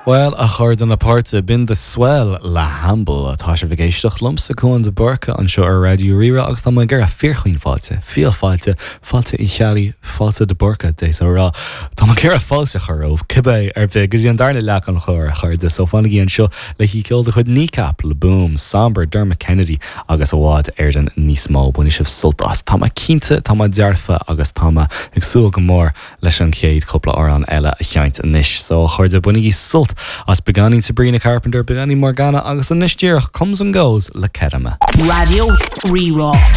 Bhuel, a chairde na páirte, b'in The Swell le Hamble. Tá sibh ag éisteacht liomsa, Cuan de Búrca, anseo ar Raidió Rí-Rá agus tá mé ag iarraidh fíorchaoin fáilte, fial fáilte, fáilte Uí Cheallaigh, fáilte de Búrca, d'fhéadfá a rá. Tá mé ag iarraidh fáilte a chur romhaibh, cibé ar bith, go dtí an darna leath den chlár, a chairde, so fanaigí anseo le haghaidh ceol de chuid Kneecap, Le Boom, Sombre, Dermot Kennedy agus i bhfad Éireann níos mó. Bainfidh sibh sult as. Tá mé cinnte, tá mé dearfa agus tá mé ag súil go mór leis an chéad chúpla amhrán eile a sheinnt anois. So, a chairde, bainigí sult as beagáinín Sabrina Carpenter, beagáinín Morgana agus anois díreach Comes and Goes le Kettama. Raidió Rí-Rá.